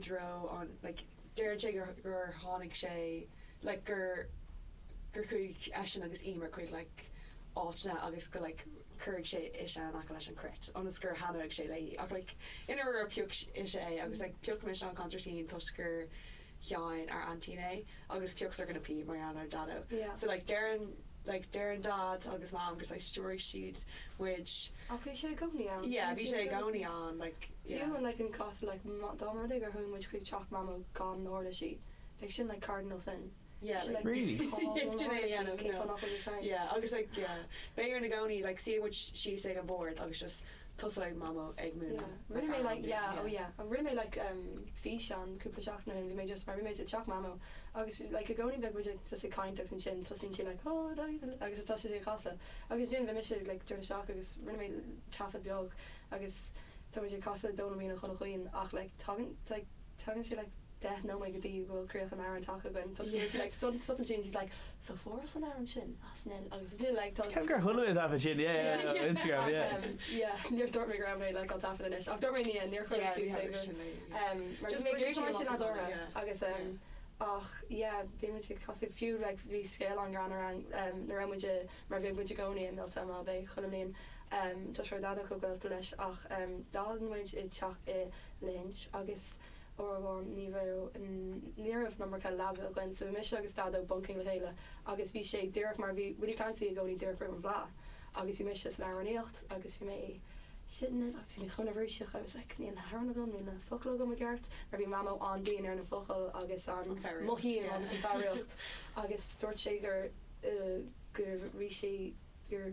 dtreo an like deireann sé gur gur tháinig sé like gur gur chuaigh eisean agus Emer chuig like áiteanna agus go like chuir sé ise in aice leis an cruit ionas gur thaitneodh sé léi ach like i ndáiríre phioc ise é agus like phioc mise an consairtín toisc gur sheinn ár aintín é agus phioc Sorcha na píob mar gheall ar Daideo Yeah. so like deireann like deireann Dad agus Mam gur like stiúraigh siad muid Ach bhí sé i gcónaí ann. yeah bhí sé i gcónaí ann like yeah. Fiú an like an cás like má dá mba rud é gur chuaigh muid chuig teach Mamó gan na huirlisí bheadh sin like cardinal sin. Yeah Sin like like Really? cá bhfuil Sin na é a huirlisí dhéanamh cén no. fáth nach bhfuil siad ann? Yeah agus like yeah beidh orainn i gcónaí like suífidh muid síos ag an bord agus just tosóidh Mamó ag Yeah múineadh rinne like mé amhrán like dúinn yeah oh yeah. yeah rinne mé like um físeán cúpla seachtain ó shin bhí mé just mar bhí mé i dteach Mamó agus like i gcónaí bheadh muid ag just ag caint agus ansin tosaíonn sí like oh agus tá sé ag casadh agus ansin bhí mise like ag dul isteach agus rinne mé taifead beag agus tá muid ag casadh Dónal Mín Ó Chonaill Chaoin ach like tagann like tagann sé like 10 nóiméad go dtí go bhfuil críoch an amhráin tagtha againn toisc go bhfuil sí like stopann sí and she's like so fuaireas an amhrán sin as an agus ansin like tá Ceapaim gur chuala mé an taifead sin yeah yeah yeah on Instagram yeah. Ach um yeah níor dúirt mé go raibh mé like á taifead anois ach dúirt mé yeah níor chuir Yeah suas ní é thaifead gur sin é yeah. um mar Just bhí mé ag bhris iarraidh sé sin amach nádúrtha yeah agus um yeah. ach yeah bhí muid ag casadh fiú like bhí scéal an-ghreannmhar ann um nuair a raibh muid i mar bhíodh muid i gcónaí i mBealtaine ab é chuile mbliain um toisc go raibh Daideo chomh gaolta leis ach um d'fhan muid i dteach i Lahinch agus uair amháin ní raibh ní raibh an iomarca leaba againn so bhí mise agus Daideo bunking le chéile agus bhí sé díreach mar bhí Willie Clancy i gcónaí díreach roimh an bhFleadh agus bhí mise san amhránaíocht agus bhí mé sitting in agus bhí mé chomh neirbhíseach I was like níl na hamhráin agam níl na focail agam i gceart mar bhí Mamó an-dian ar na focail agus an An foghraíocht, mothaím yeah. agus an foghraíocht agus dúirt sé gur gur bhí sé gur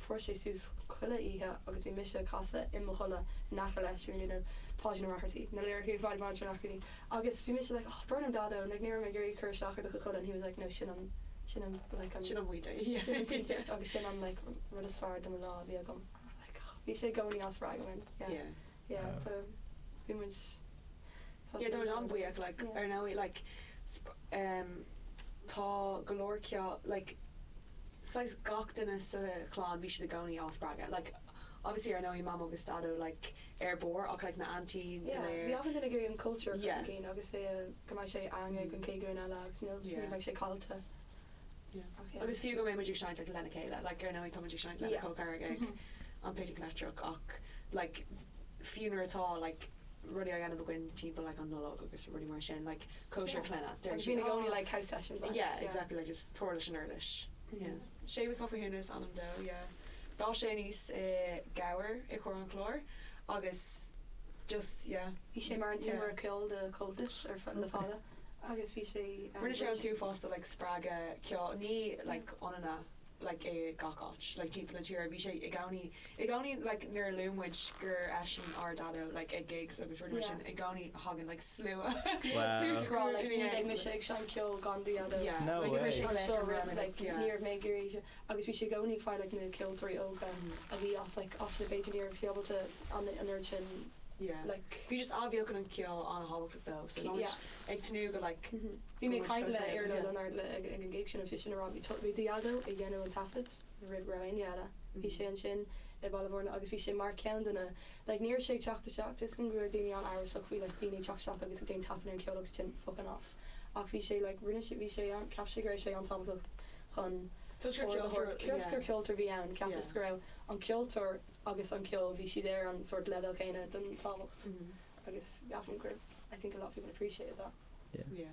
fuair sé suas chuile oíche agus bhí mise ag casadh i mo chodladh in aice leis, bhí mé ag déanamh Páidín Ó Raitheartaigh, na liricí Páidí Páidí Ó Raitheartaigh agus bhí mise like oh brón orm Daideo like ní raibh mé ag iarraidh cur isteach ar do chuid codladh and he was like no sin an sin an like an Sin an pointe sin an pointe agus sin an like rud is fearr de mo lá a bhí agam like oh bhí sé i gcónaí á spreagadh mé yeah Yeah. yeah so bhí muid tá Yeah sé tá muid an-bhuíoch like yeah. ar ndóigh like sp- um tá go leor ceol like saghas gach duine sa chlann bhí siad i gcónaí á spreagadh like obviously ar ndóigh Mamó agus Daideo like ar barr ach like na aintíní go Yeah léir. bhí achan duine ag iarraidh an cultúr a chur Yeah. chun cinn agus é a go mbeidh sé ann ag an chéad ghlúin eile agus níl ní Yeah. bheidh sé caillte. Yeah. Ach yeah. Agus fiú go mbeidh muid ag seinnt like lena chéile like ar ndóigh tá muid ag seinnt lena Yeah. Col Carraig ag Mhm. an Picnic Leictreach ach like fiú nuair atá like rudaí á dhéanamh againn timpeall like an Nollaig agus rudaí mar sin like cóisir clainne deir Agus siad bíonn i gcónaí oh like house sessions like yeah yeah. exactly like just tabhair leis an uirlis. Yeah. Séamus Mac Mathúna is ainm dó yeah. D'fhás sé aníos i gCabhar i gContae an Chláir agus just yeah. Bhí sé mar an Yeah. timire ceoil do Comhaltas ar feadh le fada agus bhí sé um Rinne sé an t-uafás de like spreagadh ceoil ní like ionainne like i gach áit like timpeall na tíre bhí sé i gcónaí i gcónaí like nuair a luann muid gur eisean ár Daideo like ag gigs agus rudaí mar Yeah. sin i gcónaí thagann like slua Wow. suas Rá like ina ní bheidh dhiaidh. mise ag seinnt ceoil gan do Dhaideo. Yeah. No Like way. chuir sé Like, seo like, roimh like yeah. ní raibh mé ag iarraidh sé agus bhí sé i gcónaí ag fáil like na ceoltóirí óga a bhí as like áiteanna b'fhéidir ní raibh siad ábalta an an oiread sin Yeah. like Bhí just athbheochan an cheoil an-thábhachtach dó so tá muid Yeah. ag tnúth go like Bhí mé go ag muid caint fós le ann, Iarla yeah. Leonard le ag an gig sin agus bhí sin ag rá bhí bhí do Dhaideo ag déanamh an taifead roimh go raibh éinne eile. Bhí sé ansin i Baile Bhúirne agus bhí sé mar ceann de na like ní raibh sé ag teacht isteach tuigim go raibh daoine an-amhrasach faoi like daoine ag teacht isteach agus ag déanamh taifead ar an cheol agus ansin fucking off ach bhí sé like rinne sé bhí sé an cheap sé go raibh sé an-tábhachtach chun Toisc gur ard a ceoltóir thabhairt toisc gur yeah. ceoltóir a bhí ann cheapas Yeah. go raibh an ceoltóir agus an ceol bhí siad ar an sort leibhéal céanna den tábhacht agus ceapaim gur I think a lot of people appreciated that. Yeah. Yeah.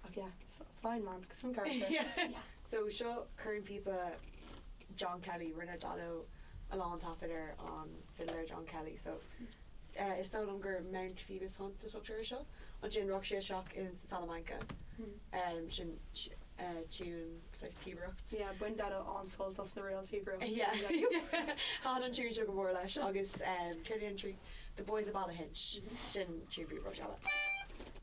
Ach yeah, so fine man, some character. Yeah. Yeah. So seo cornphíopa John Kelly, rinne Daideo a lán taifead ar an fiddler John Kelly so eh, is dóigh liom gur Mount Phoebus Hunt a tugtar air seo. Ansin rachaidh sé isteach in sa Salamanca, um, sin eh, tune saghas píobaireacht. Yeah, bhain Daideo an-sult as na reels píobaireacht. Yeah. Thaitin an tune seo go mór leis agus um, céard é an trí The Boys of Ballyhinch, sin tune píobaireacht eile.